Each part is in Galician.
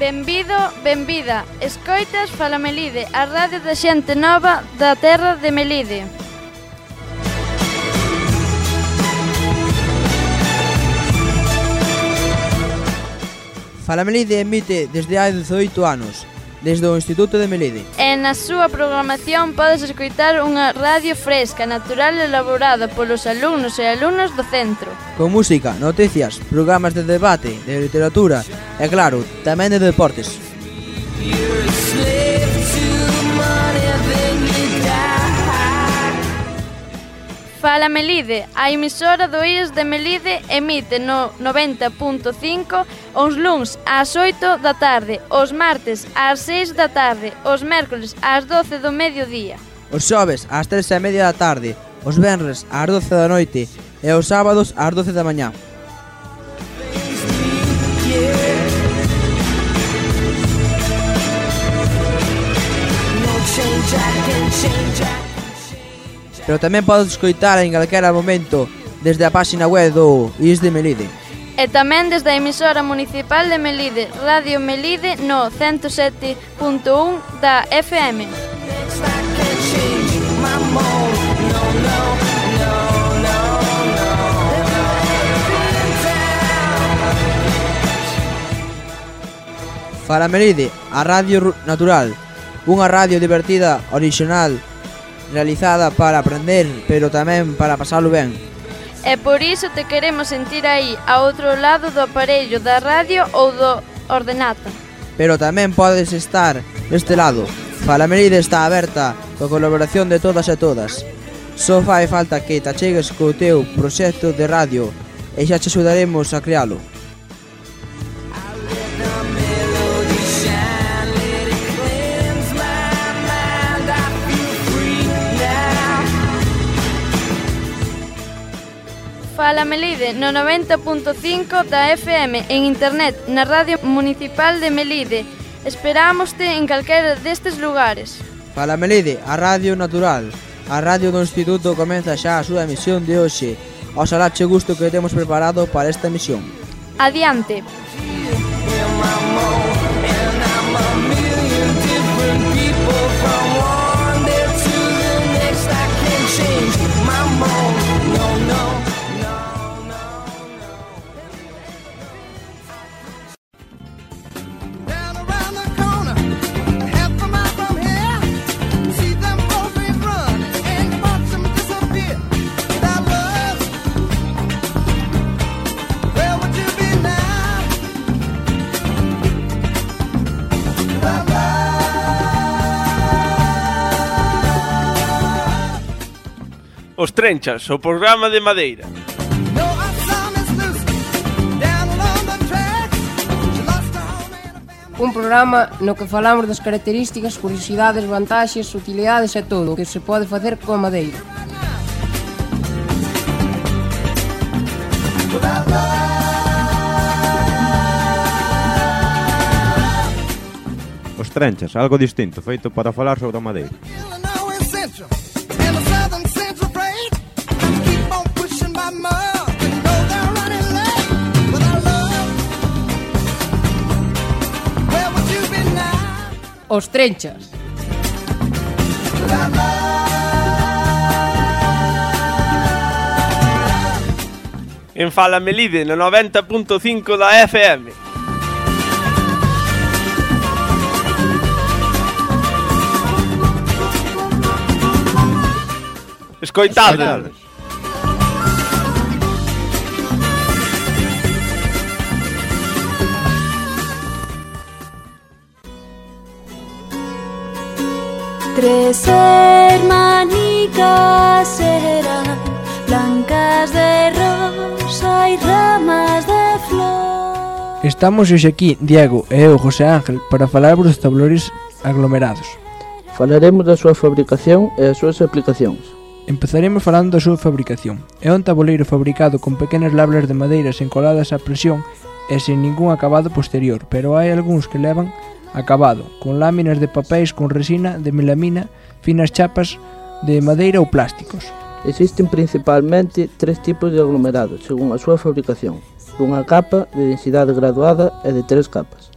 Benvido, benvida. Escoitas Fala Melide, a radio da xente nova da terra de Melide. Fala Melide emite desde hai 18 anos, desde o Instituto de Melide. E na súa programación podes escoitar unha radio fresca, natural e elaborada polos alumnos e alumnas do centro. Con música, noticias, programas de debate, de literatura e, claro, tamén de deportes. Fala Melide, a emisora do IES de Melide emite no 90.5 os luns ás 8 da tarde, os martes ás 6 da tarde, os mércoles ás 12 do mediodía. Os xoves ás 3:30 da tarde, os venres ás 12 da noite e os sábados ás 12 da mañá. Pero tamén podes escoitar en calquera momento desde a páxina web do IES de Melide. E tamén desde a emisora municipal de Melide, Radio Melide no 107.1 da FM. Fala Melide, a radio natural, unha radio divertida, orixinal, realizada para aprender, pero tamén para pasalo ben. E por iso te queremos sentir aí, a outro lado do aparello da radio ou do ordenata. Pero tamén podes estar deste lado. Fala Melide está aberta coa colaboración de todas e todas. Só fai falta que te achegues co teu proxecto de radio e xa te axudaremos a crealo. Fala Melide no 90.5 da FM en internet na Radio Municipal de Melide. Esperámoste en calquera destes lugares. Fala Melide, a radio natural. A radio do Instituto comeza xa a súa emisión de hoxe. Oxalá che gusto que temos preparado para esta emisión. Adiante. Os Trenchas, o programa de Madeira. Un programa no que falamos das características, curiosidades, vantaxes, utilidades e todo o que se pode facer coa madeira. Os Trenchas, algo distinto, feito para falar sobre a madeira. Os Trenchas. En Fala Melide no 90.5 da FM. Escoitades. Tres hermanicas eran blancas de rosa e ramas de flor. Estamos hoxe aquí, Diego e eu, José Ángel, para falarvos dos tablores aglomerados. Falaremos da súa fabricación e as súas aplicacións. Empezaremos falando da súa fabricación. É un tabuleiro fabricado con pequenas labras de madeiras encoladas á presión e sen ningún acabado posterior, pero hai algúns que levan acabado, con láminas de papéis con resina de melamina, finas chapas de madeira ou plásticos. Existen principalmente tres tipos de aglomerados, según a súa fabricación. Dunha capa, de densidade graduada e de tres capas.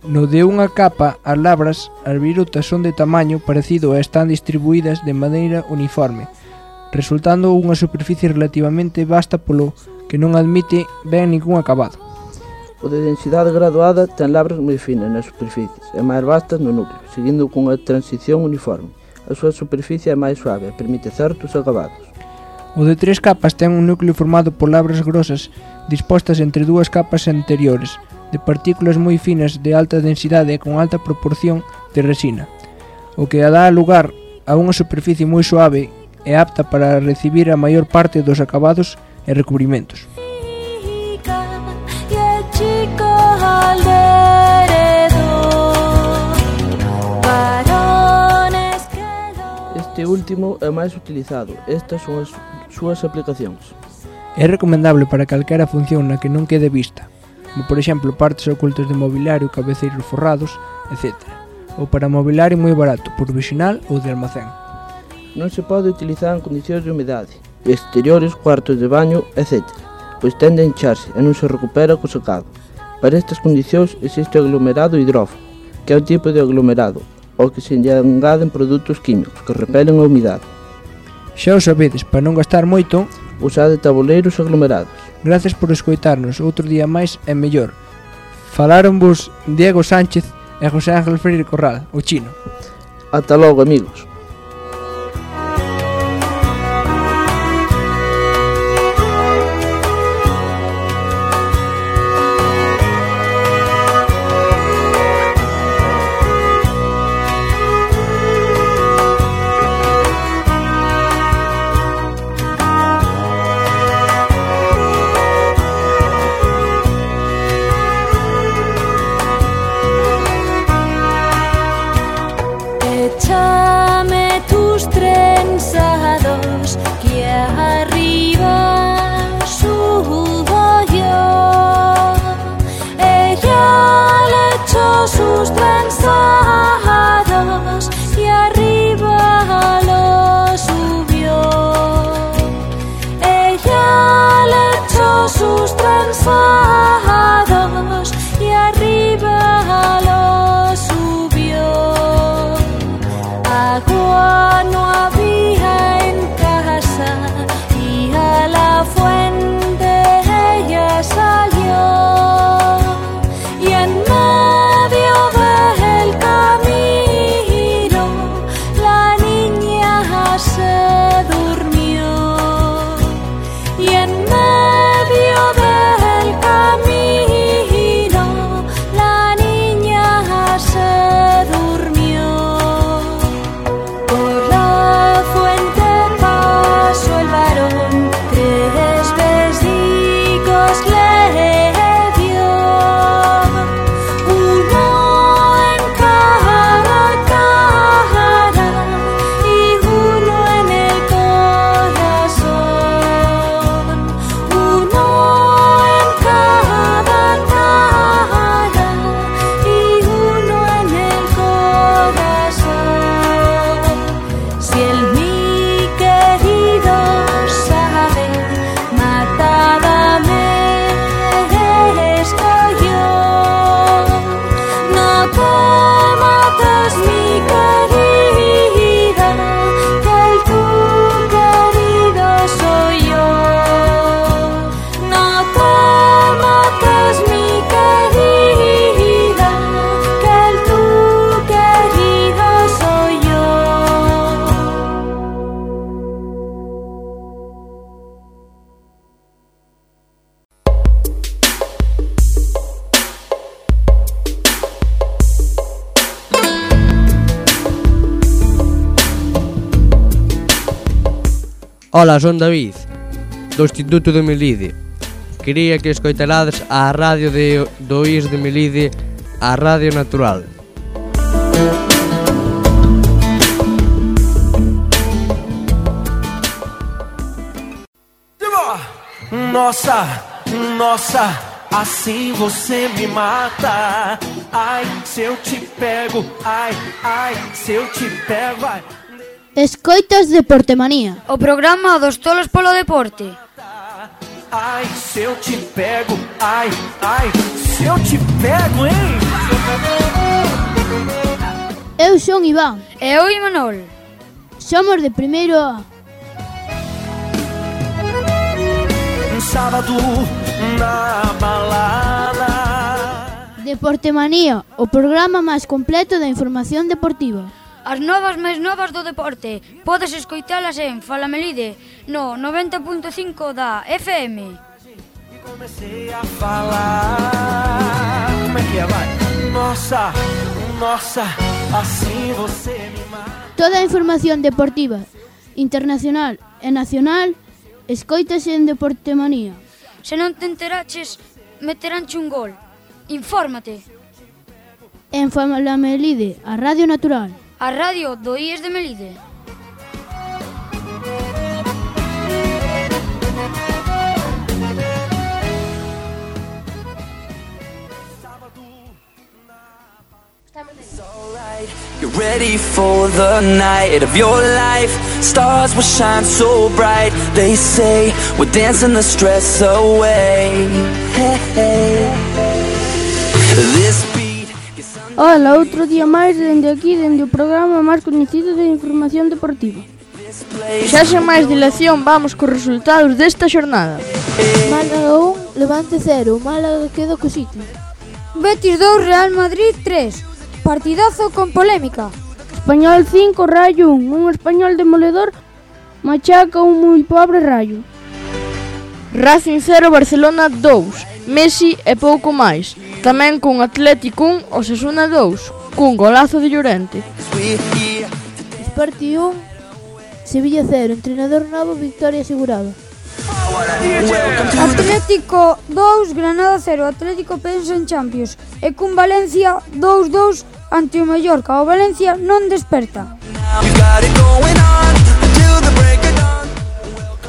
No de unha capa, as labras, as virutas son de tamaño parecido e están distribuídas de maneira uniforme, resultando unha superficie relativamente vasta polo que non admite ben ningún acabado. O de densidade graduada ten labras moi finas nas superficies e máis vastas no núcleo, seguindo cunha transición uniforme. A súa superficie é máis suave e permite certos acabados. O de 3 capas ten un núcleo formado por labras grosas dispostas entre dúas capas anteriores, de partículas moi finas de alta densidade e con alta proporción de resina, o que dá lugar a unha superficie moi suave e apta para recibir a maior parte dos acabados e recubrimentos. Este último é máis utilizado. Estas son as súas aplicacións. É recomendable para calquera función na que non quede vista, como por exemplo partes ocultas de mobiliario, cabeceiros forrados, etc. Ou para mobiliario moi barato, provisional ou de almacén. Non se pode utilizar en condicións de humidade, exteriores, cuartos de baño, etc., pois tende a hincharse e non se recupera co secado. Para estas condicións existe o aglomerado hidrófobo, que é un tipo de aglomerado, ao que se lle engaden produtos químicos que repelen a humidade. Xa o sabedes, para non gastar moito, usade tabuleiros aglomerados. Gracias por escoitarnos outro día máis e mellor. Faláronvos Diego Sánchez e José Ángel Freire Corral, o Chino. Ata logo, amigos. Ola, son David, do Instituto de Melide. Quería que escoitarades a radio do IS de Melide, a Radio Natural. Nossa, nossa, assim você me mata. Ai, se eu te pego, ai, ai, se eu te pego, ai. Escoitas Deportemanía, o programa dos tolos polo deporte. Ai, se eu te pego, ai, ai, se eu te pego, hein? Eu son Iván. E eu Imanol. Somos de primeiro A. Sábado na balada. Deportemanía, o programa máis completo da información deportiva. As novas máis novas do deporte. Podes escoitalas en Fala Melide, no 90.5 da FM. Comecei a falar. Como é que é, vai? Nossa, nossa, assim você me mata. Toda a información deportiva, internacional e nacional, escoítase en Deportemanía. Se non te enteraches, meteránche un gol. Infórmate. En Fala Melide, a Radio Natural. A radio do IES de Melide. Get ready for the night of your life. Stars will shine so bright. They say we're dancing the stress away. Hey, hey. This beat gets under. Ola, outro día máis dende aquí, dende o programa máis coñecido de información deportiva. Xa sen máis dilación, vamos cos resultados desta xornada. Málaga 1, Levante 0. Málaga queda co sitio. Betis 2, Real Madrid 3. Partidazo con polémica. Español 5, Rayo 1. Un español demoledor machaca un moi pobre Rayo. Racing 0, Barcelona 2. Messi e pouco máis. Tamén con Atlético 1, Osasuna 2. Cun golazo de Llorente. Sporting 1, Sevilla 0. Entrenador novo, victoria asegurada. Atlético 2, Granada 0. Atlético pensa en Champions. E cun Valencia 2-2 ante o Mallorca. O Valencia non desperta.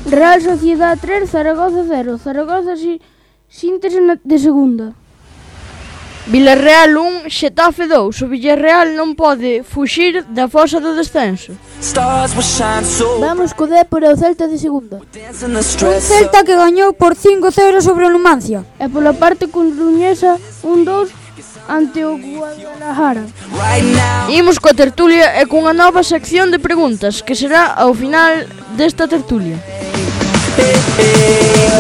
Real Sociedad 3, Zaragoza 0. Zaragoza síntese de segunda. Villarreal 1, Xetafe 2. O Villarreal non pode fuxir da fosa do descenso. Vamos co Dépor e o Celta de segunda. Un Celta que gañou por 5-0 sobre o Numancia. E pola parte coruñesa 1-2 ante o Guadalajara. Imos coa tertulia e cunha nova sección de preguntas que será ao final desta tertulia.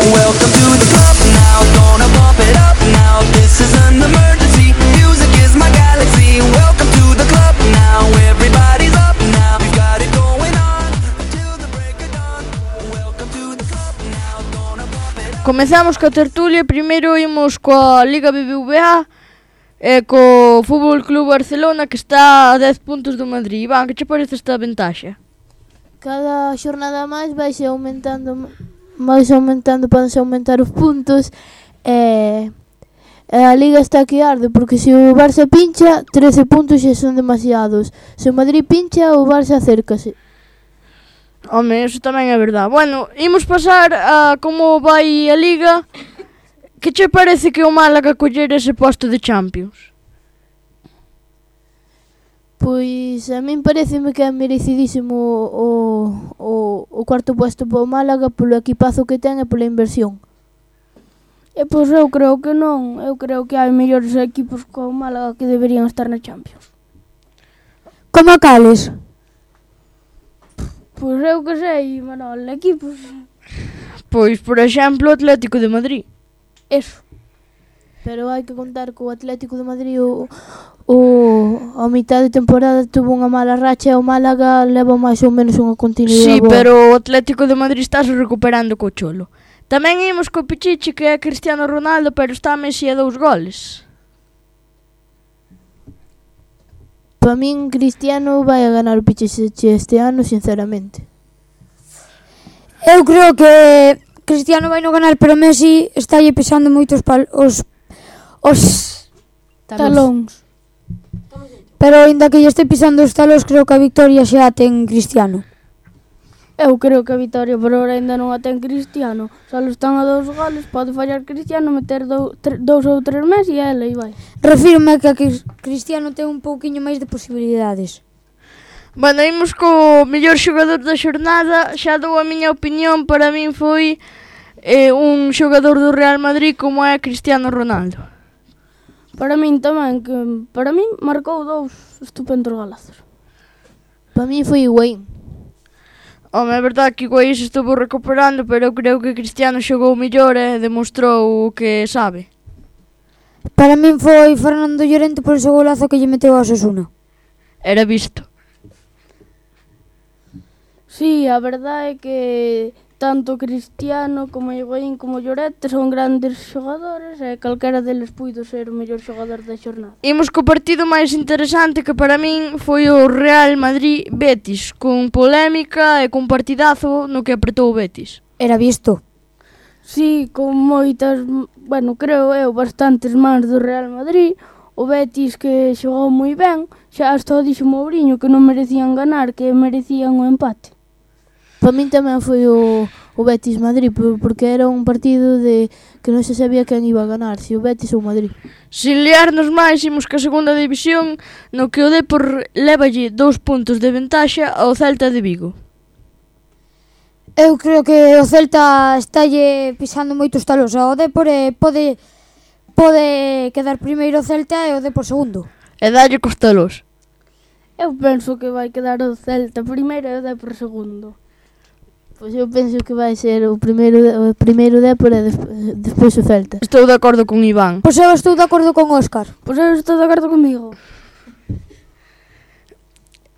Welcome to the club now, gonna bump it up now. This is an emergency, music is my galaxy. Welcome to the club now, everybody's up now. We got it going on until the break of dawn. Welcome to the club now, gonna bump it up. Comezamos coa tertulia, primeiro imos coa Liga BBVA e co Fútbol Club Barcelona que está a 10 puntos do Madrid. Iván, que che parece esta ventaxa? Cada xornada máis vaise aumentando, podense aumentar os puntos e a Liga está que arde, porque se o Barça pincha 13 puntos xa son demasiados. Se o Madrid pincha, o Barça acércase. Home, eso tamén é verdade. Bueno, imos pasar a como vai a Liga. Que che parece que o Málaga coller ese posto de Champions? Pois a min pareceme que é merecidísimo o cuarto posto para o Málaga polo equipazo que ten e pola inversión. E pois eu creo que non. Eu creo que hai mellores equipos que o Málaga que deberían estar na Champions. Como cales? Pois eu que sei, Manol, equipos. Pois, por exemplo, o Atlético de Madrid. Eso. Pero hai que contar que o Atlético de Madrid a mitad de temporada tuvo unha mala racha e o Málaga leva máis ou menos unha continuidade. Sí, pero o Atlético de Madrid estáse recuperando co Cholo. Tamén imos co Pichichi, que é Cristiano Ronaldo, pero está a Messi a 2 goles. Para min, Cristiano vai a ganar o Pichichi este ano, sinceramente. Eu creo que Cristiano vai non ganar, pero Messi está lle pisando moito os talóns. Pero ainda que lle este pisando os talóns, creo que a victoria xa ten Cristiano. Eu creo que a victoria por ahora ainda non a ten Cristiano. Só están a 2 goles, pode fallar Cristiano, meter 2 ou 3 Messi e ela e vai. Refírome que Cristiano ten un pouquiño máis de posibilidades. Bueno, imos co mellor xogador da xornada. Xa dou a miña opinión, para min foi un xogador do Real Madrid como é Cristiano Ronaldo. Para min tamén, que para min marcou 2 estupendos golazos. Para min foi Higuaín. Home, é verdade que Higuaín se estuvo recuperando, pero eu creo que Cristiano xogou mellor e demostrou o que sabe. Para min foi Fernando Llorente por ese golazo que lle meteu a Osasuna. Era visto. Sí, a verdade é que tanto Cristiano como Higuaín como Llorente son grandes xogadores e calquera deles puido ser o mellor xogador da xornada. Imos co partido máis interesante que para min foi o Real Madrid-Betis, con polémica e con partidazo no que apretou o Betis. Era visto. Sí, con moitas, bueno, creo eu, bastantes mans do Real Madrid. O Betis que xogou moi ben, xa hasta o dixo Mourinho que non merecían ganar, que merecían o empate. Para min tamén foi o Betis Madrid, porque era un partido de que non se sabía quen iba a ganar, se o Betis ou o Madrid. Sin liarnos máis, imos ca segunda división, no que o Depor lévalle 2 puntos de ventaxa ao Celta de Vigo. Eu creo que o Celta estalle pisando moitos talos ao Depor e pode quedar primeiro o Celta e o Depor segundo. E dalle cos talos. Eu penso que vai quedar o Celta primeiro e o Depor segundo. Pois eu penso que vai ser o primeiro Depor e despois o Celta. Estou de acordo con Iván. Pois eu estou de acordo con Óscar. Pois eu estou de acordo comigo.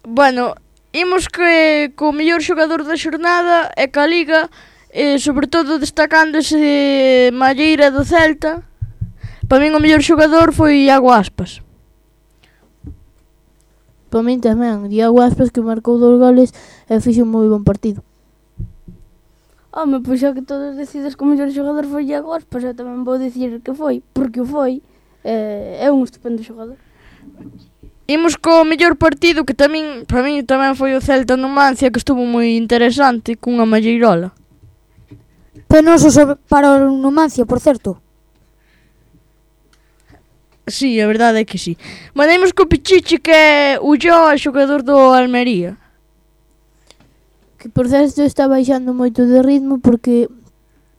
Bueno, imos que co mellor xogador da xornada e ca Liga, sobre todo destacando ese Malleira do Celta. Para min o mellor xogador foi Iago Aspas. Para min tamén, Iago Aspas, que marcou 2 goles e fixo un moi bon partido. Home, pois xa que todos decides que o mellor xogador foi Iago Aspas, eu tamén vou dicir que foi, porque o foi, é un estupendo xogador. Imos co mellor partido, que tamén, para min tamén foi o Celta Numancia, que estuvo moi interesante, cunha malleirola. Penoso para o Numancia, por certo. Sí, a verdade é que sí. Bueno, imos co Pichichi, que é o Ulloa, xogador do Almería. Que por certo está baixando moito de ritmo porque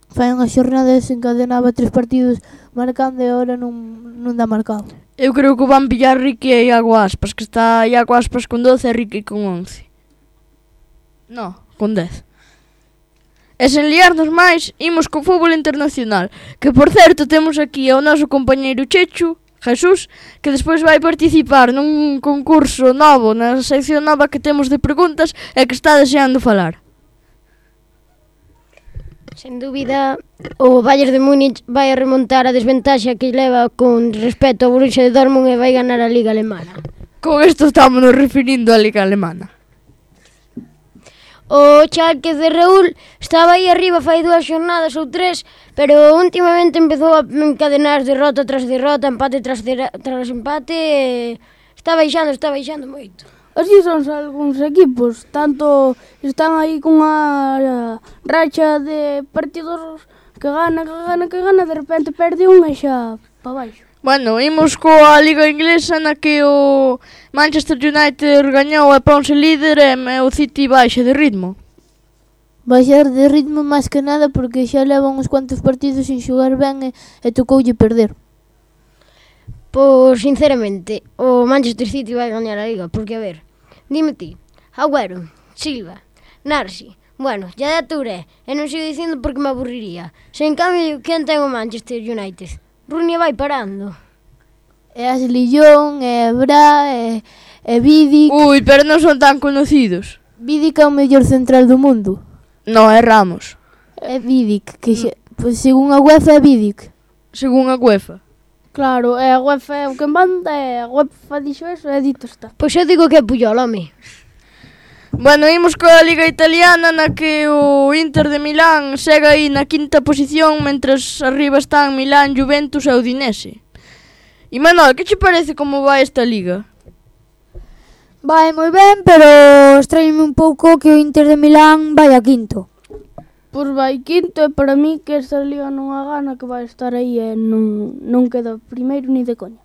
fai unhas xornadas encadenaba 3 partidos marcando e agora non dá marcado. Eu creo que van pillar Ricky e Iago Aspas, que está Iago Aspas con 12 e Ricky con 11. No, con 10. E sen liarnos máis, imos co fútbol internacional, que por certo temos aquí ao noso compañeiro Chechu, Jesús, que despois vai participar nun concurso novo, na sección nova que temos de preguntas e que está deseando falar. Sen dúbida, o Bayern de Múnich vai a remontar a desventaxa que leva con respecto ao Borussia de Dortmund e vai ganar a Liga Alemana. Con isto estamos nos referindo á Liga Alemana. O Schalke de Raúl estaba aí arriba fai 2 xornadas ou 3, pero últimamente empezou a encadenar derrota tras derrota, empate tras empate, e está baixando moito. Así son algúns equipos, tanto están aí cunha racha de partidos que gana, de repente perde un e xa pa baixo. Bueno, imos coa Liga Inglesa na que o Manchester United gañou e ponse líder e o City baixa de ritmo. Baixar de ritmo máis que nada porque xa levan uns cuantos partidos sin xogar ben e tocoulle perder. Pois, sinceramente, o Manchester City vai gañar a Liga, porque, a ver, dime ti, Agüero, Silva, Narsi, bueno, ya de Touré, e non sigo dicindo porque me aburriría. Se en cambio, quen ten o Manchester United? Rooney vai parando. E Ashley Young, e Bra, e Vidic. Ui, pero non son tan conocidos. Vidic é o mellor central do mundo. No, é Ramos. É Vidic, que pois según a UEFA é Vidic. Según a UEFA. Claro, e a UEFA é o que manda, e a UEFA dixo eso e dito está. Pois eu digo que é Puyol, home. Bueno, imos coa Liga Italiana na que o Inter de Milán segue aí na 5ª posición, mentras arriba están Milán, Juventus e Udinese. E Manuel, que che parece como vai esta Liga? Vai moi ben, pero extrañame un pouco que o Inter de Milán vai a 5º. Pois vai 5º e para mí que esta Liga non a gana, que vai estar aí e non queda primeiro ni de coña.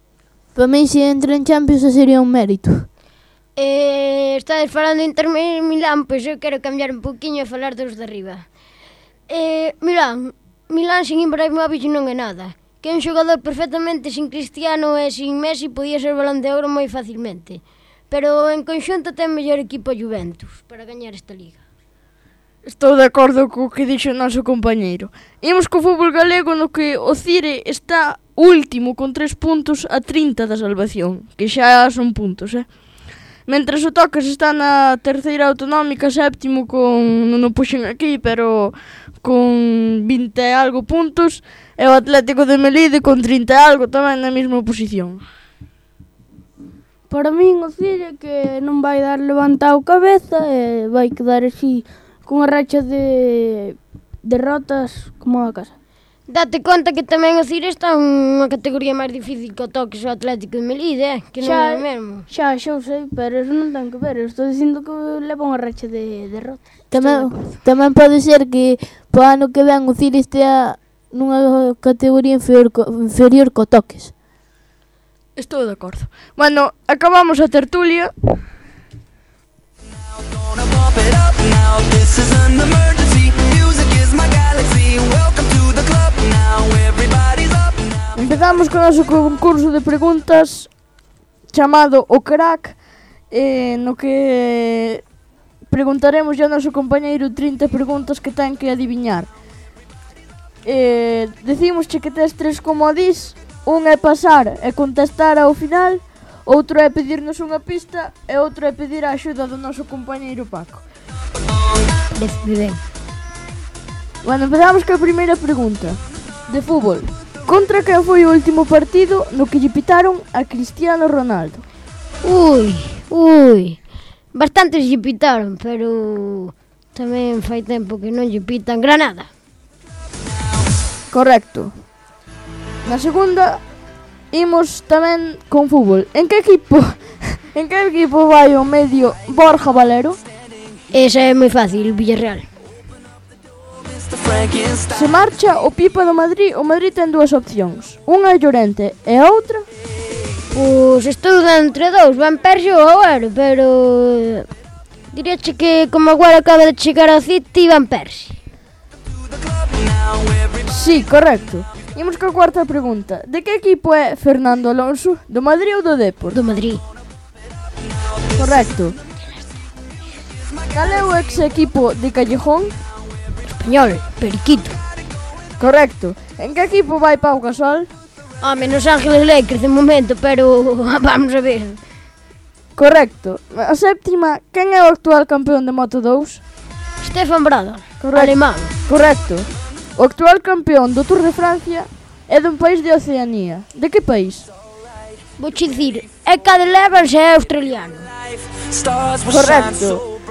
Para mí se entra en Champions sería un mérito. Estades falando de Inter Milán, pois eu quero cambiar un poquinho e falar dos de arriba. Milán sin Ibrahimovic non é nada. que un xogador perfectamente sin Cristiano e sin Messi podía ser Balón de Ouro moi facilmente. Pero en conxunto ten mellor equipo a Juventus para gañar esta liga. Estou de acordo co que dixo o noso compañeiro. Imos co fútbol galego no que o Cire está último con 3 puntos a 30 da salvación, que xa son puntos, Mentres o Tocas está na terceira autonómica, séptimo con, non o puxen aquí, pero con 20 e algo puntos, e o Atlético de Melide con 30 e algo tamén na mesma posición. Para min o Cire que non vai dar levantado cabeza e vai quedar así cunha racha de derrotas como a casa. Date conta que tamén o Cire está unha categoría máis difícil que o Tocas o Atlético de Melide, que non é o mesmo. Xa o sei, pero eso non ten que ver. Eu estou dicindo que leva unha racha de derrotas. Tamén pode ser que po ano que ven o Cire estea nunha categoría inferior co Toques. Estou de acordo. Bueno, acabamos a tertulia. Empezamos con o noso concurso de preguntas chamado O Crack, no que preguntaremos ao noso compañeiro 30 preguntas que ten que adiviñar. Decimos que tes 3 comodís. Un é pasar e contestar ao final, outro é pedirnos unha pista e outro é pedir a axuda do noso compañeiro Paco. Ben. Bueno, empezamos coa primeira pregunta. De fútbol. Contra quen foi o último partido no que lle pitaron a Cristiano Ronaldo? Ui. Bastantes lle pitaron, pero tamén fai tempo que non lle pitan Granada. Correcto. Na segunda, imos tamén con fútbol. En que equipo vai o medio Borja Valero? Esa é moi fácil, Villarreal. Se marcha o Pipa do Madrid, o Madrid ten 2 opcións. Unha é Llorente e a outra? Pois estou dando entre 2, Van Persie ou Agüero, pero diríache que como Agüero acaba de chegar ao City, Van Persie. Sí, correcto. Imos coa cuarta pregunta. De que equipo é Fernando Alonso? Do Madrid ou do Depor? Do Madrid. Correcto. Cal é o ex equipo de Callejón? Español, Periquito. Correcto. En que equipo vai Pau Gasol? Menos Ángeles Lakers de momento, pero vamos a ver. Correcto. A séptima, quen é o actual campeón de Moto2? Stefan Bradl, alemán. Correcto. O actual campeón do Tour de Francia é dun país de Oceanía. De que país? Vou che dicir, é Cadel Evans e é australiano. Correcto.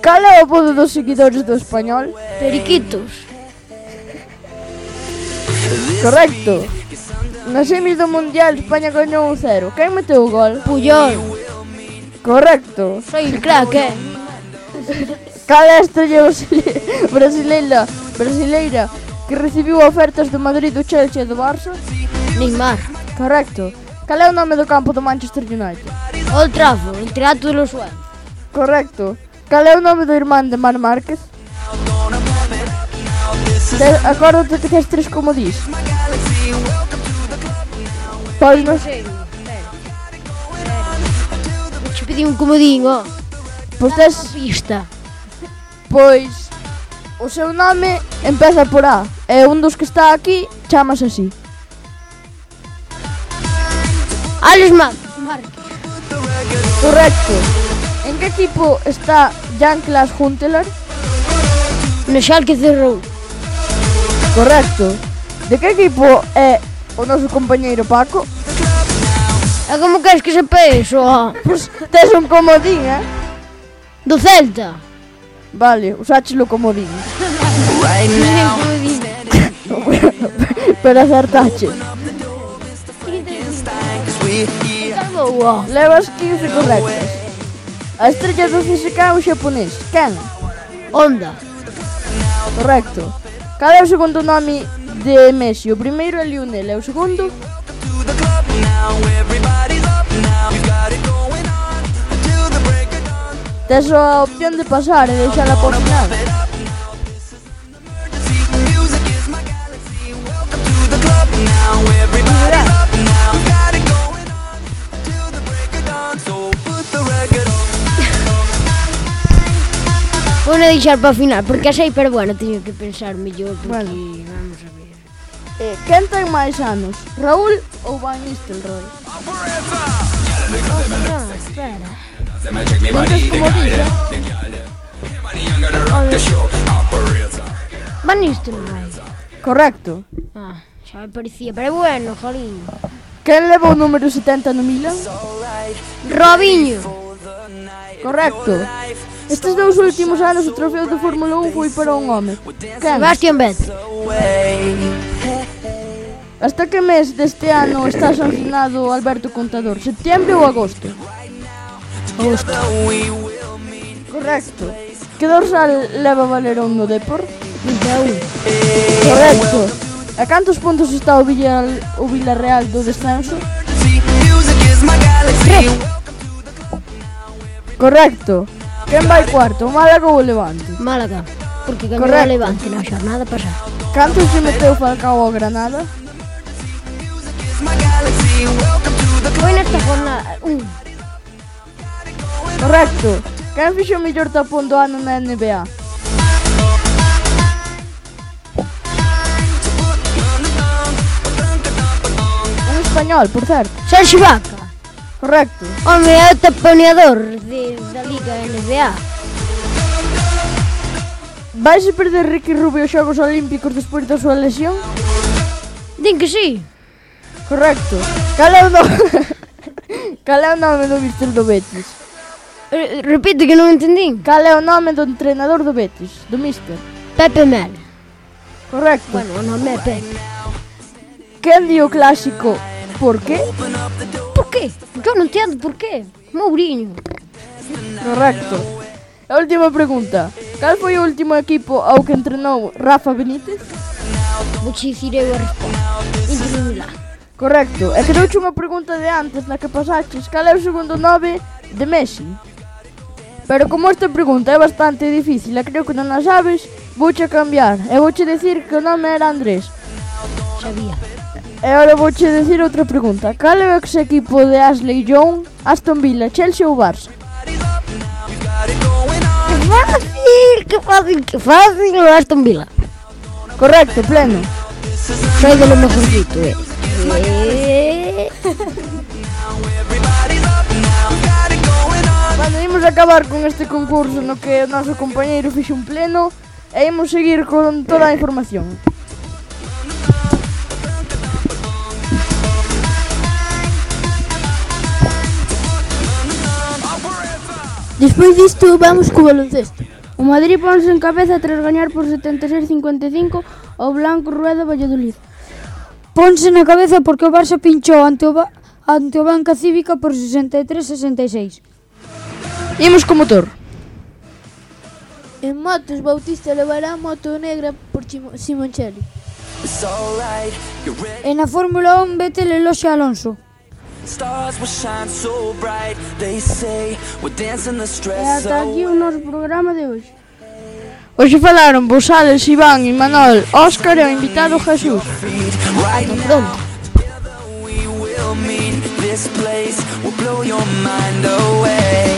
Cal é o apodo dos seguidores do Español? Periquitos. Correcto. Na semis do Mundial, España gañou 1-0. Quen meteu o gol? Puyol. Correcto. Soy el crack, Cal é a estrella brasileira que recibiu ofertas do Madrid, do Chelsea e do Barça? Neymar. Correcto. Cal é o nome do campo do Manchester United? Old Trafford, el Teatro de los Sueños. Correcto. Cal é o nome do irmán de Mar Márquez? Acórdate que tes 3 comodís. Pois non sei. Vou te pedir un comodín, Pois tes pista. Pois o seu nome empeza por A e un dos que está aquí chamase así. Alex Márquez. Correcto. En que equipo está Jan-Klaas Huntelaar? No Schalke 04. Correcto. De que equipo é o noso compañeiro Paco? E como queres que sepa eso? Pois tes un comodín, Do Celta. Vale, usáchelo comodín. Pero acertache. Levas 15 correctas. A estrella do CSK é o xaponés. Quen? Honda. Correcto. Cal é o segundo nome de Messi? O primeiro é Lionel e o segundo? Tes a opción de pasar e deixala por final. Vou a deixar para o final, porque a sei, pero bueno, teño que pensar mellor, porque Bueno. vamos a ver. Quen ten máis anos, Raúl ou Van Nistelrooy? Espera. Non tes como dice? Van Nistelrooy. Correcto. Xa me parecía, pero bueno, jolín. Quen leva o número 70 no Milan? Robinho. Correcto. Estes 2 últimos anos o trofeo de Fórmula 1 foi para un home. Quen? Sebastian Vettel. Hasta que mes deste ano está sancionado Alberto Contador? Setembro ou agosto? Agosto. Correcto. Que dorsal leva Valerón no Depor? 21. Correcto. A cantos puntos está o Villarreal do descenso? Correcto. Quen vai cuarto, o Málaga ou o Levante? Málaga, porque gañou o Levante na xornada pasada. Cantos se meteu Falcao ao Granada? Foi nesta jornada, Correcto. Quen fixo o mellor tapón do ano na NBA? Un español, por certo. Sergio Vaca. Correcto. Home, é o taponeador da Liga NBA. Vaise perder Ricky Rubio os Xogos Olímpicos despois da súa lesión? Din que sí. Correcto. Cal é o nome do mister do Betis? Repite que non entendín. Cal é o nome do entrenador do Betis? Do mister? Pepe Mel. Correcto. Bueno, o nome é Pepe. Quen di o clásico por qué? Por qué? Eu non entendo por qué. Mourinho. Correcto. A última pregunta. Cal foi o último equipo ao que entrenou Rafa Benítez? Vou che dicir eu a resposta. Inter de Milán. Correcto. E quedouche unha pregunta de antes na que pasaches. Cal é o segundo nome de Messi? Pero como esta pregunta é bastante difícil e creo que non a sabes, vouche cambiar. E vouche dicir que o nome era Andrés. Sabía. E agora vouche dicir outra pregunta. Cal é o ex equipo de Ashley Young, Aston Villa, Chelsea ou Barça? Que fácil, o Aston Villa. Correcto, pleno. Soy de lo mejorcito, Bueno, imos acabar con este concurso no que o noso compañeiro fixe un pleno e imos seguir con toda a información. Despois disto vamos co baloncesto. O Madrid ponse en cabeza tras gañar por 76-55 ao Blanco Rueda Valladolid. Ponse na cabeza porque o Barça pinchou ante o Banca Cívica por 63-66. Imos co motor. En motos, Bautista levará a moto negra por Simoncelli. E na Fórmula 1, Vettel eloxia a Alonso. E ata aquí o noso programa de hoxe. Hoxe falaron Bosales, Iván, Imanol, Óscar e o invitado Jesús. Pronto. This place will blow your mind away.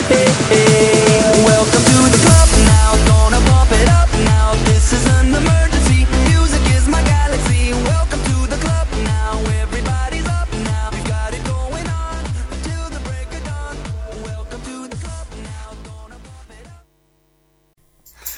Hey, hey. Welcome to the club now, gonna bump it up now. This is an emergency, music is my galaxy. Welcome to the club now, everybody's up now. We've got it going on until the break of dawn. Welcome to the club now, gonna bump it up.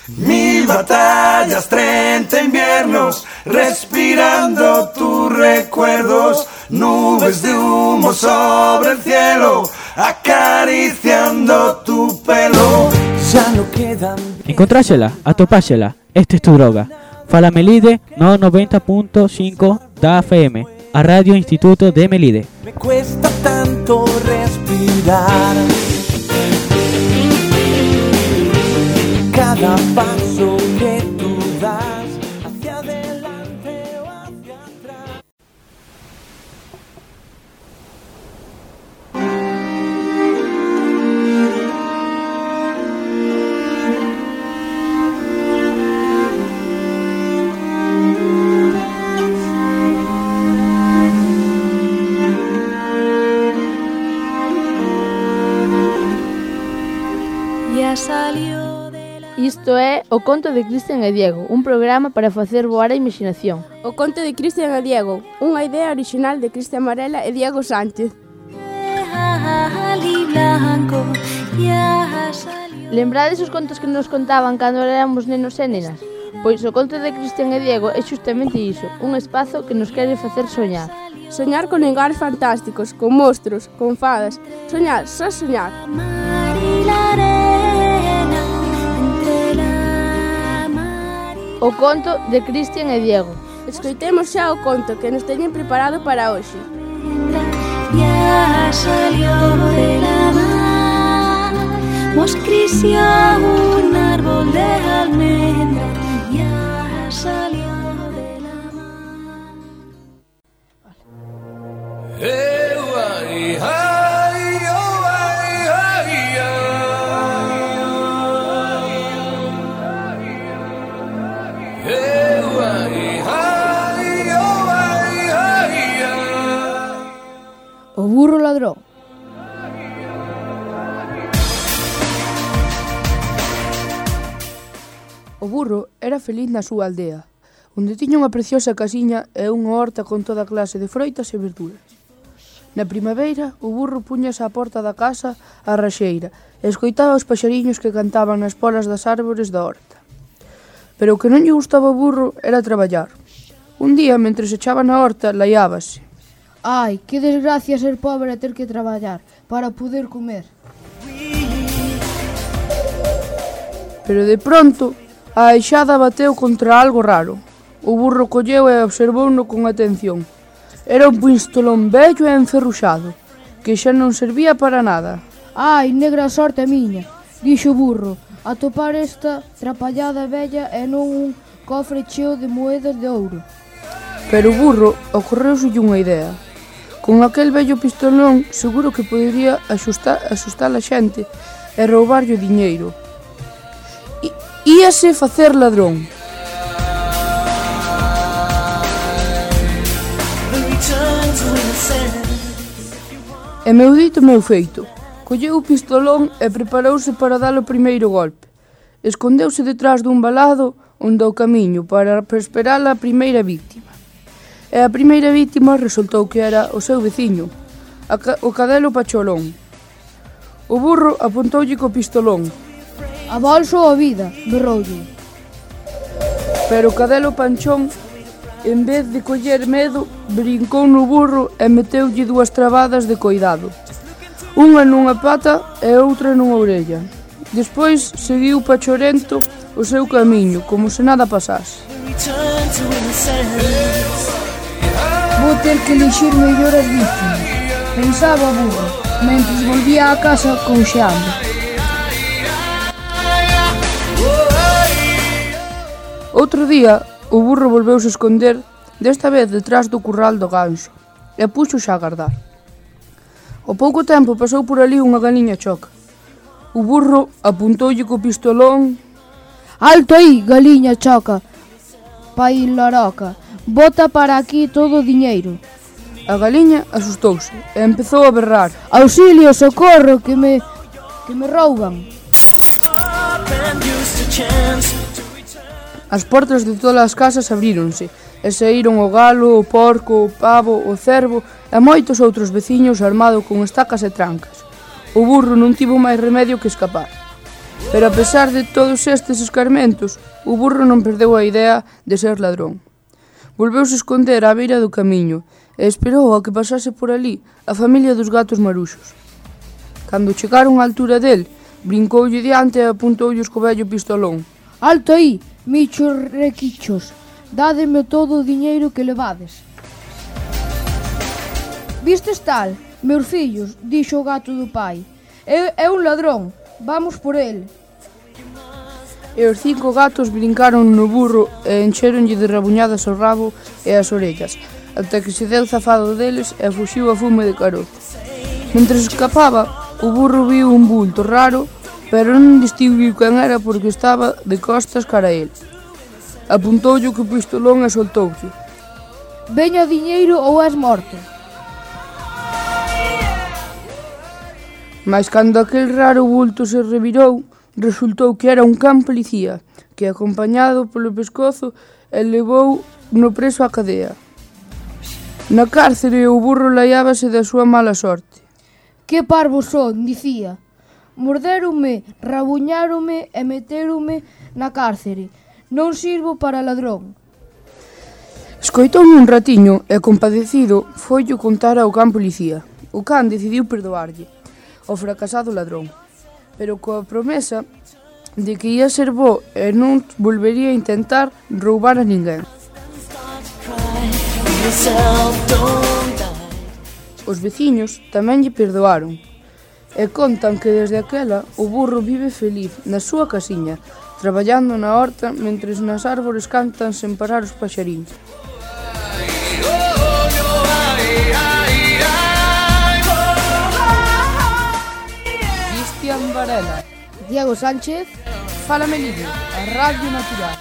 1000 batallas, 30 inviernos, respirando tus recuerdos. Nubes de humo sobre el cielo, acariciando tu pelo. Ya no quedan. Encontrásela, atopásela, esta es tu droga. Fala Melide no 90.5 da FM, a Radio Instituto de Melide. Me cuesta tanto respirar. Cada paso que tú das hacia adelante o hacia atrás. Isto é O conto de Cristian e Diego, un programa para facer voar a imaginación. O conto de Cristian e Diego, unha idea original de Cristian Varela e Diego Sánchez. Lembrades os contos que nos contaban cando éramos nenos e nenas? Pois o conto de Cristian e Diego é justamente iso, un espazo que nos quere facer soñar. Soñar con lugares fantásticos, con monstruos, con fadas. Soñar, só soñar. O conto de Cristian e Diego. Escoitemos xa o conto que nos teñen preparado para hoxe. Ya salió de la mar, nos creció un árbol de almendra. Ya salió de la O burro ladrón. O burro era feliz na súa aldea, onde tiña unha preciosa casiña e unha horta con toda clase de froitas e verduras. Na primavera, o burro puñase á porta da casa a raxeira e escoitaba os paxariños que cantaban nas polas das árbores da horta. Pero o que non lle gustaba ao burro era traballar. Un día, mentre se echaba na horta, laiábase. Ai, que desgracia ser pobre e ter que traballar para poder comer. Pero de pronto, a aixada bateu contra algo raro. O burro colleu e observouno con atención. Era un pistolón vello e enferruxado, que xa non servía para nada. Ai, negra sorte miña, dixo o burro, atopar esta trapallada vella e non un cofre cheo de moedas de ouro. Pero o burro ocorreuselle unha idea. Con aquel vello pistolón seguro que podería asustar a xente e roubarlle o diñeiro. Íase facer ladrón. E meu dito, meu feito. Colleu o pistolón e preparouse para dar o primeiro golpe. Escondeuse detrás dun valado onde o camiño para esperar a primeira víctima. E a primeira víctima resultou que era o seu veciño, o cadelo Pacholón. O burro apuntoulle co pistolón. A bolso ou a vida, berroulle. Pero o cadelo Panchón, en vez de coller medo, brincou no burro e meteulle dúas trabadas de coidado. Unha nunha pata e outra nunha orella. Despois seguiu Pachorento o seu camiño, como se nada pasase. Vou ter que elixir mellor as víctimas, pensaba o burro, mentres volvía á casa conxeando. Outro día, o burro volveuse esconder, desta vez detrás do curral do ganso, e puxose a agardar. Ao pouco tempo pasou por ali unha galiña choca. O burro apuntoulle co pistolón. Alto aí, galiña choca, pai laroca, bota para aquí todo o diñeiro. A galiña asustouse e empezou a berrar. Auxilio, socorro, que me rouban. As portas de todas as casas abríronse e saíron o galo, o porco, o pavo, o cervo e moitos outros veciños armados con estacas e trancas. O burro non tivo máis remedio que escapar. Pero a pesar de todos estes escarmentos, o burro non perdeu a idea de ser ladrón. Volveuse esconder á beira do camiño e esperou a que pasase por ali a familia dos gatos maruxos. Cando chegaron á altura del, brincoulle diante e apuntoulle co vello pistolón. Alto aí, michos requichos, dádeme todo o diñeiro que levades. Vistes tal, meus fillos, dixo o gato do pai. É un ladrón, vamos por el. E os 5 gatos brincaron no burro e encheronlle de rabuñadas o rabo e as orellas, ata que se deu zafado deles e fuxiu a fume de carozo. Mentres escapaba, o burro viu un bulto raro, pero non distinguiu quen era porque estaba de costas cara a el. Apuntoulle co pistolón e soltoulle. Veña o diñeiro ou és morto. Mas cando aquel raro bulto se revirou, resultou que era un can policía, que, acompañado polo pescozo, elevou no preso á cadea. Na cárcere o burro laiábase da súa mala sorte. Que parvos son, dicía. Morderonme, rabuñáronme e meteronme na cárcere. Non sirvo para ladrón. Escoitoume un ratiño e, compadecido, foillo contar ao can policía. O can decidiu perdoarlle ao fracasado ladrón, pero coa promesa de que ia ser bo e non volvería a intentar roubar a ninguén. Os veciños tamén lle perdoaron e contan que desde aquela o burro vive feliz na súa casiña, traballando na horta mentres nas árbores cantan sen parar os paxaríns. Cristian Varela, Diego Sánchez, Fala Melide, a Radio Natural.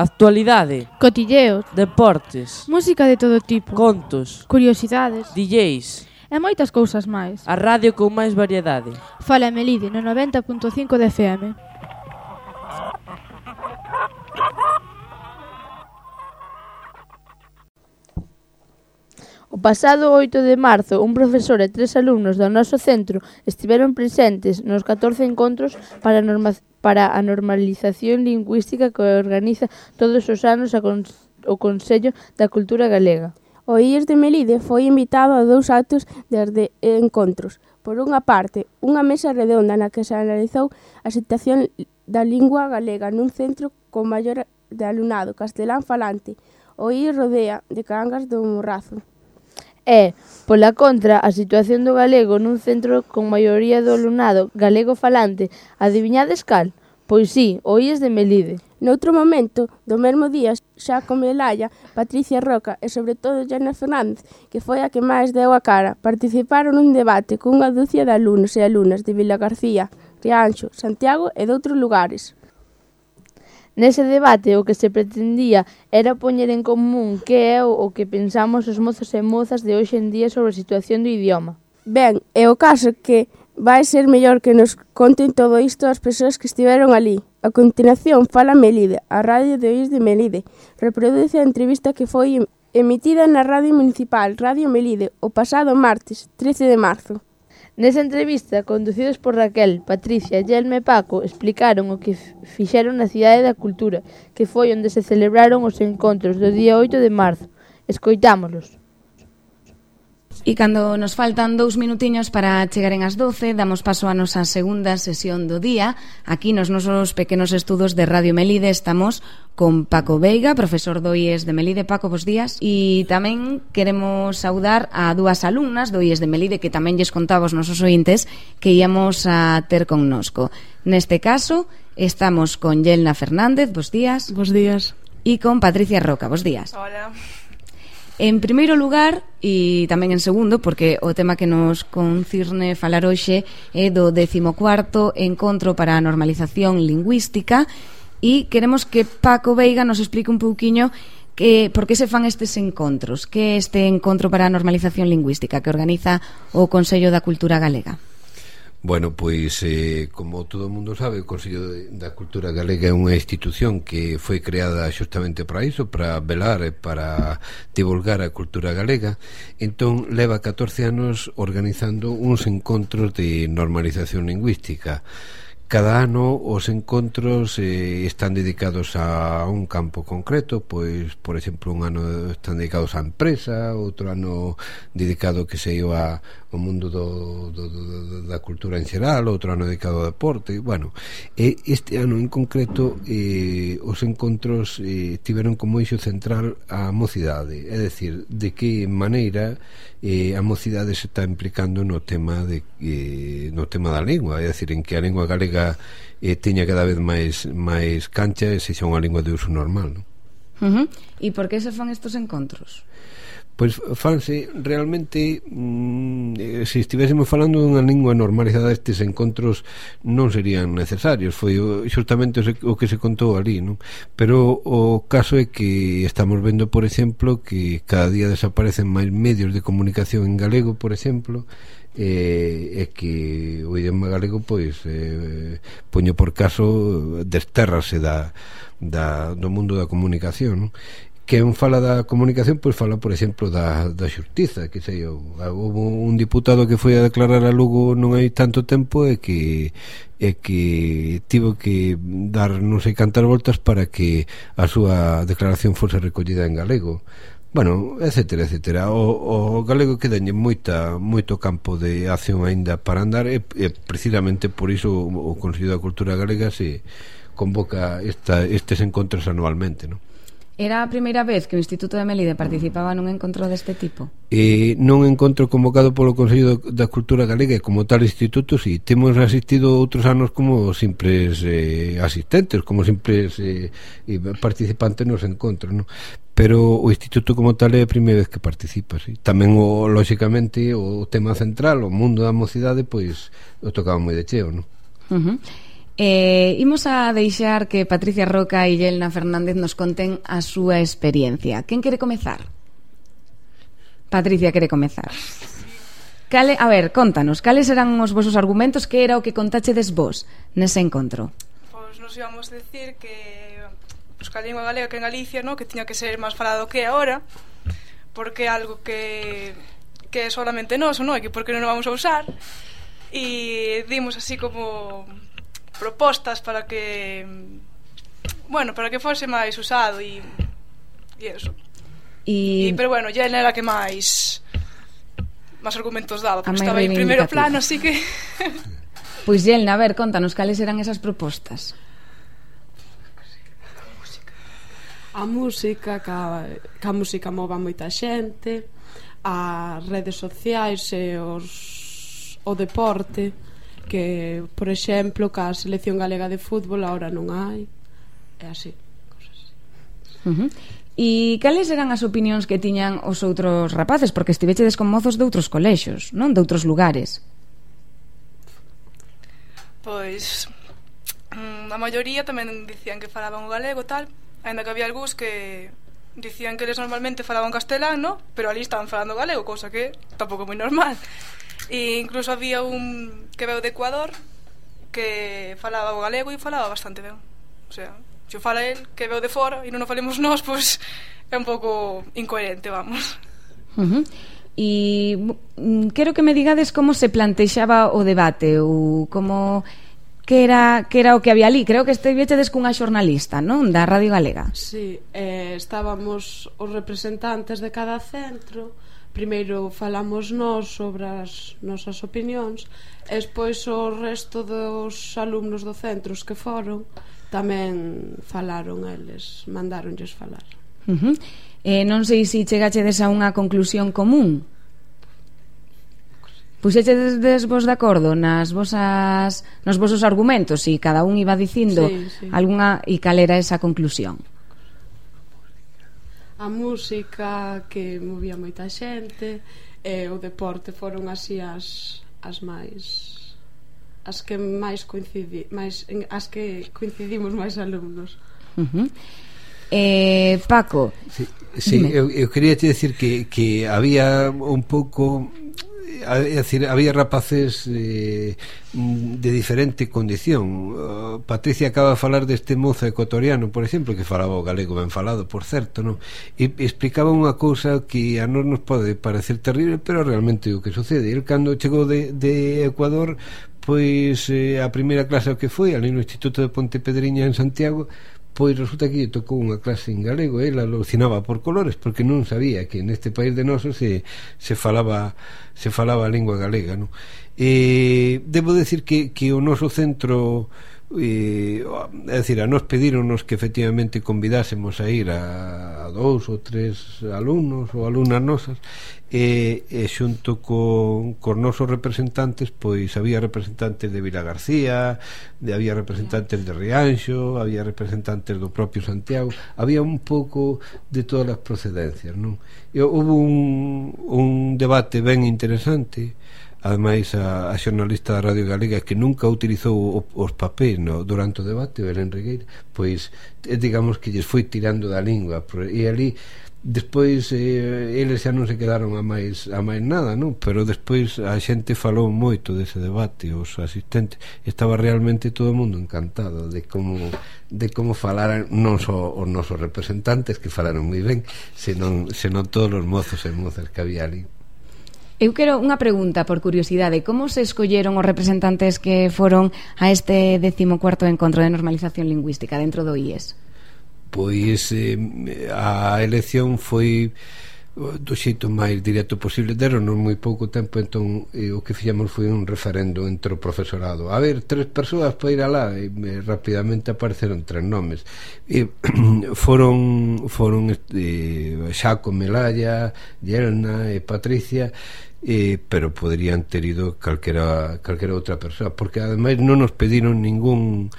Actualidade, Cotilleos, deportes, música de todo tipo, contos, curiosidades DJs e moitas cousas máis. A radio con máis variedade. Fala Melide no 90.5 de FM. O pasado 8 de marzo, un profesor e 3 alumnos do noso centro estiveron presentes nos 14 encontros para a normalización lingüística que organiza todos os anos o Consello da Cultura Galega. O IES de Melide foi invitado a 2 actos de encontros. Por unha parte, unha mesa redonda na que se analizou a situación da lingua galega nun centro con maior de alumnado castelán falante, o IES Rodea de Cangas do Morrazo. E, pola contra, a situación do galego nun centro con maioría do alumnado galego falante, adiviñades cal? Pois sí, o IES de Melide. Noutro momento, do mesmo día, xa con Melalla, Patricia Roca e sobre todo Jana Fernández, que foi a que máis deu a cara, participaron nun debate cunha dúcia de alumnos e alumnas de Vila García, Rianxo, Santiago e doutros lugares. Nese debate o que se pretendía era poñer en común que é o que pensamos os mozos e mozas de hoxe en día sobre a situación do idioma. Ben, é o caso que vai ser mellor que nos conten todo isto as persoas que estiveron ali. A continuación, Fala Melide, a radio de IES de Melide. Reproduce a entrevista que foi emitida na Radio Municipal Radio Melide o pasado martes, 13 de marzo. Nesa entrevista, conducidos por Raquel, Patricia, Yelme e Paco, explicaron o que fixeron na Cidade da Cultura, que foi onde se celebraron os encontros do día 8 de marzo. Escoitámolos. E cando nos faltan 2 minutiños para chegaren ás 12, damos paso a nosa segunda sesión do día. Aquí nos nosos pequenos estudos de Radio Melide estamos con Paco Veiga, profesor do IES de Melide. Paco, bos días. E tamén queremos saudar a 2 alumnas do IES de Melide que tamén lles contaba aos nosos ointes que íamos a ter connosco. Neste caso, estamos con Yelna Fernández, bos días. Bos días. E con Patricia Roca, bos días. Hola. En primeiro lugar, e tamén en segundo, porque o tema que nos concirne falar hoxe é do 14º Encontro para a Normalización Lingüística, e queremos que Paco Veiga nos explique un pouquiño por que se fan estes encontros, que é este Encontro para a Normalización Lingüística que organiza o Consello da Cultura Galega. Bueno, pois, como todo o mundo sabe, o Consello da Cultura Galega é unha institución que foi creada xustamente para iso, para velar e para divulgar a cultura galega. Entón, leva 14 anos organizando uns encontros de normalización lingüística. Cada ano os encontros están dedicados a un campo concreto, pois, por exemplo, un ano están dedicados á empresa, outro ano dedicado que se iba ao mundo da cultura en xeral, outro ano dedicado ao deporte. Bueno, este ano en concreto os encontros tiveron como eixo central a mocidade, é dicir, de que maneira a mocidade se está implicando no tema da lingua, é dicir, en que a lingua galega teña cada vez máis cancha e sexa unha lingua de uso normal, non? E por que se fan estos encontros? Pois fanse realmente se estivésemos falando dunha lingua normalizada, estes encontros non serían necesarios. Foi xustamente o que se contou ali, non? Pero o caso é que estamos vendo, por exemplo, que cada día desaparecen máis medios de comunicación en galego, por exemplo, e que o idioma galego pois poño por caso destérrase do mundo da comunicación, non? Que un fala da comunicación, pois fala, por exemplo, da xustiza, que sei eu. Houve un diputado que foi a declarar a Lugo non hai tanto tempo e que tivo que dar non sei cantas voltas para que a súa declaración fose recollida en galego. Bueno, etcétera, etcétera. O galego quedañe moito campo de acción aínda para andar, e precisamente por iso o Consello da Cultura Galega se convoca estes encontros anualmente, non? Era a primeira vez que o Instituto de Melide participaba nun encontro deste tipo? Non encontro convocado polo Consello da Cultura Galega, e como tal instituto, si temos asistido outros anos como simples asistentes, como simples participantes nos encontros, non? Pero o instituto como tal é a primeira vez que participa, sí. Tamén, lóxicamente, o tema central, o mundo da mocidade, pois o tocaba moi de cheo, non? Imos a deixar que Patricia Roca e Yelna Fernández nos conten a súa experiencia. Quen quere comezar? Patricia quere comezar. A ver, contanos, cales eran os vosos argumentos, que era o que contachedes vos nese encontro? Pois nos íbamos a decir que a lingua galega que en Galicia, no, que tiña que ser máis falado que ahora, porque é algo que é solamente noso, no, e que porque non o vamos a usar, e dimos así como propostas para que fose máis usado e eso. Pero bueno, ya era que máis argumentos daba, porque estaba en primeiro plano, así que Pois Yelna, a ver, contanos cales eran esas propostas. A música, que a música mova moita xente, as redes sociais e o deporte, que, por exemplo, que a selección galega de fútbol agora non hai, é así, cosas así. E cales eran as opinións que tiñan os outros rapaces? Porque estivechedes con mozos de outros colexios, non? De outros lugares. Pois a maioría tamén dicían que falaban o galego tal, ainda que había algúns que dicían que eles normalmente falaban castelán, no? Pero ali estaban falando galego, cousa que tampouco é moi normal. E incluso había un que veu de Ecuador que falaba o galego e falaba bastante ben. O sea, se o fala el que veu de fora e non o falemos nós, pois é un pouco incoherente, vamos. E quero que me digades como se plantexaba o debate, ou como que era o que había ali. Creo que estivechedes cunha xornalista, non? Da Radio Galega. Sí, estábamos os representantes de cada centro. Primeiro falamos nós sobre as nosas opinións, e despois o resto dos alumnos do centros que foron tamén falaron eles, mandáronlles falar. Non sei se chegachedes a unha conclusión común. Puxechedes vos de acordo nos vosos argumentos, e cada un iba dicindo algunha, e cal era esa conclusión? A música, que movía moita xente, e o deporte foron así as que máis as que coincidimos máis alumnos. Paco, eu quería te decir que había un pouco, había rapaces de diferente condición. Patricia acaba de falar deste mozo ecuatoriano, por exemplo, que falaba o galego ben falado, por certo, non? E explicaba unha cousa que a nós nos pode parecer terrible, pero realmente o que sucede. El, cando chegou de Ecuador, pois a primeira clase que foi ali no Instituto de Pontepedriña en Santiago, pois resulta que lle tocou unha clase en galego, e ela alucinaba por colores, porque non sabía que neste país de nosos se falaba a lingua galega, non? Debo decir que o noso centro é dicir, a nos pedironos que efectivamente convidásemos a ir a 2 ou 3 alumnos ou alumnas nosas, e xunto cos nosos representantes, pois había representantes de Vilagarcía, había representantes de Rianxo, había representantes do propio Santiago, había un pouco de todas as procedencias, non? E houve un debate ben interesante. Ademais, a xornalista da Radio Galega, que nunca utilizou os papéis durante o debate, Belén Regueira, pois digamos que lles foi tirando da lingua, e ali despois eles xa non se quedaron a máis nada, non? Pero despois a xente falou moito dese debate, os asistentes, estaba realmente todo o mundo encantado de como falaran, non só os nosos representantes, que falaron moi ben, senón todos os mozos e mozas que había ali. Eu quero unha pregunta por curiosidade. Como se escolleron os representantes que foron a este 14º encontro de normalización lingüística dentro do IES? Pois a elección foi do xeito máis directo posible. Deronos moi pouco tempo, entón o que fixemos foi un referendo entre o profesorado. A ver, 3 persoas para ir alá, e rapidamente apareceron 3 nomes. Foron Xaco, Melalla, Yelna e Patricia, pero poderían ter ido calquera outra persoa, porque ademais non nos pediron ningún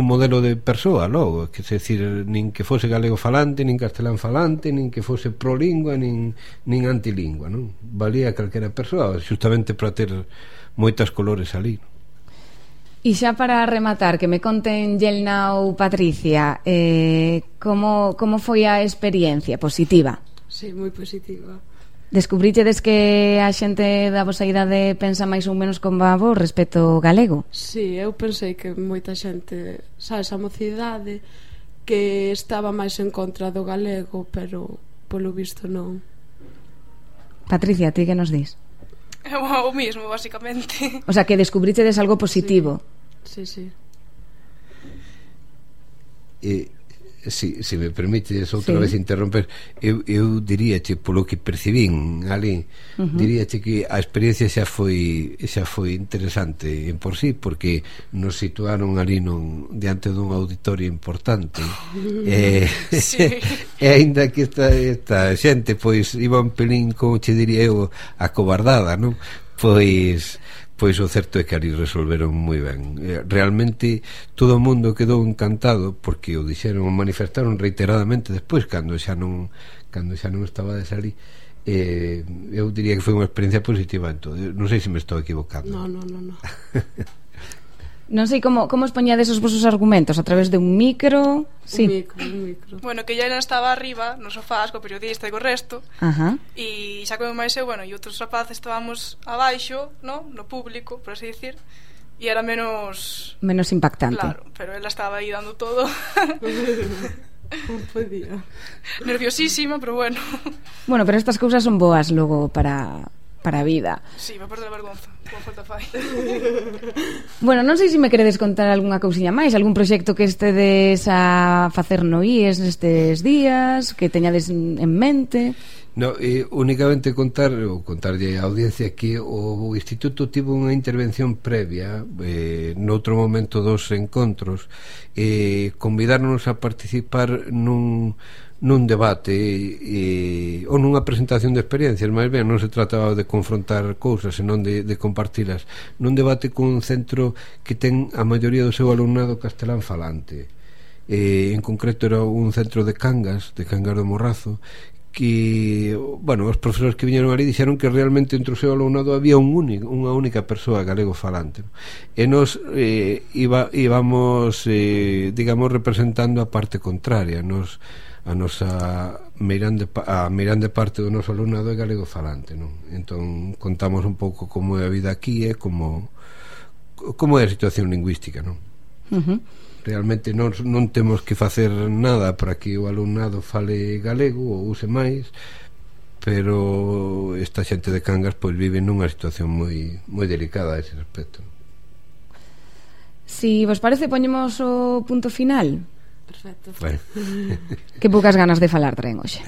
modelo de persoa logo, que se decir, nin que fose galego falante, nin castelán falante, nin que fose prolingua, nin antilingua, non? Valía calquera persoa, justamente para ter moitas colores ali. E xa para rematar, que me conten Yelna ou Patricia, como foi a experiencia positiva? Sí, moi positiva. Descubrichedes que a xente da vosa idade pensa máis ou menos como a vos respecto ao galego? Sí, eu pensei que moita xente, sabes, a mocidade que estaba máis en contra do galego, pero polo visto non. Patricia, ti que nos dis? O mismo, basicamente. O sea, que descubrichedes algo positivo. Sí, sí. Se me permites outra vez interromper, eu diríache, polo que percibín ali, diríache que a experiencia xa foi interesante en por sí, porque nos situaron ali diante dun auditorio importante, e aínda que esta xente pois iba un pelín, como che diría eu, acobardada, non? Pois o certo é que ali resolveron moi ben. Realmente todo o mundo quedou encantado, porque o dixeron, o manifestaron reiteradamente despois, cando xa non estaba de salir. Eu diría que foi unha experiencia positiva en todo. Non sei se me estou equivocando. No. Non sei como expoñades os vosos argumentos, a través de un micro. Sí. Un micro. Bueno, que ya estaba arriba no sofá co periodista e co resto. E xa como máis eu, bueno, e outros rapaces estábamos abaixo, no público, por así decir, e era menos impactante. Claro, pero ela estaba aí dando todo. Non podía. Nerviosísima, pero bueno. Bueno, pero estas cousas son boas logo para a vida. Sí, va perder a vergonza, como falta fai. Bueno, non sei se me queredes contar algunha cousiña máis, algún proxecto que estedes a facer no IES nestes días, que teñades en mente. No, únicamente contarlle á audiencia que o Instituto tivo unha intervención previa noutro momento dos encontros, convidarnos a participar nun debate ou nunha presentación de experiencias, máis ben non se trataba de confrontar cousas, senón de compartilas, nun debate cun centro que ten a maioría do seu alumnado castelán falante, en concreto era un centro de Cangas do Morrazo, que, bueno, os profesores que viñeron ali dixeron que realmente entre o seu alumnado había unha única persoa galego falante, e nos íbamos digamos representando a parte contraria. A nosa meirande parte do noso alumnado é galego falante, non? Entón contamos un pouco como é a vida aquí e como é a situación lingüística, non? Realmente non temos que facer nada para que o alumnado fale galego ou use máis, pero esta xente de Cangas pois vive nunha situación moi delicada a ese respecto. Si vos parece, poñemos o punto final. Perfecto. Bueno. Que poucas ganas de falar traen hoxe.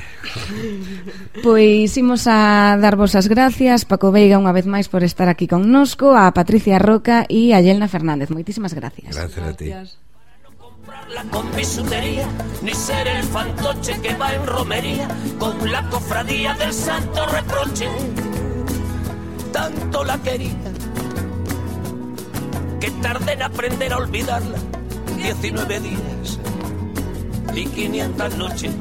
Pois imos a darvos as gracias, Paco Veiga unha vez máis por estar aquí connosco, a Patricia Roca e a Yelna Fernández. Moitísimas gracias. Gracias a ti. Con bisutería, ni ser el fantoche que va en romería con la cofradía del santo reproche. Tanto la quería que tardé en aprender a olvidarla. 19 días y 500 noches.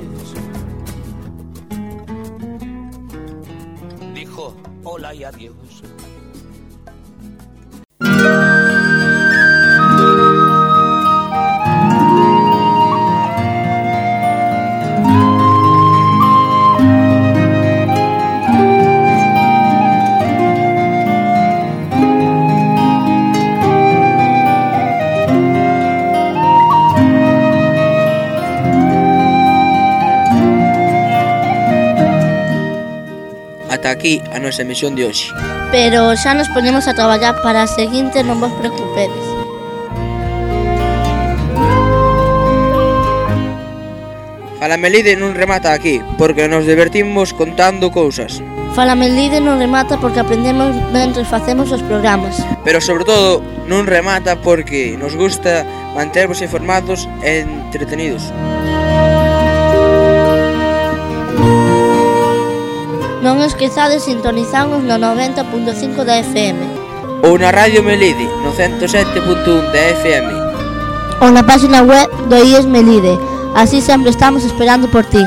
Dijo hola y adiós. Ata aquí a nosa emisión de hoxe. Pero xa nos poñemos a traballar para a seguinte, non vos preocupedes. Fala Melide non remata aquí, porque nos divertimos contando cousas. Fala Melide non remata porque aprendemos mentre facemos os programas. Pero sobre todo non remata porque nos gusta mantervos informados e entretenidos. Non esquezades sintonizarnos no 90.5 da FM. Ou na Radio Melide, no 107.1 da FM. Ou na página web do IES Melide. Así sempre estamos esperando por ti.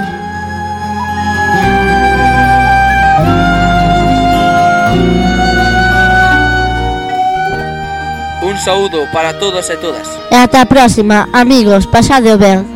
Un saúdo para todos e todas. E ata a próxima, amigos, pasadeo ben.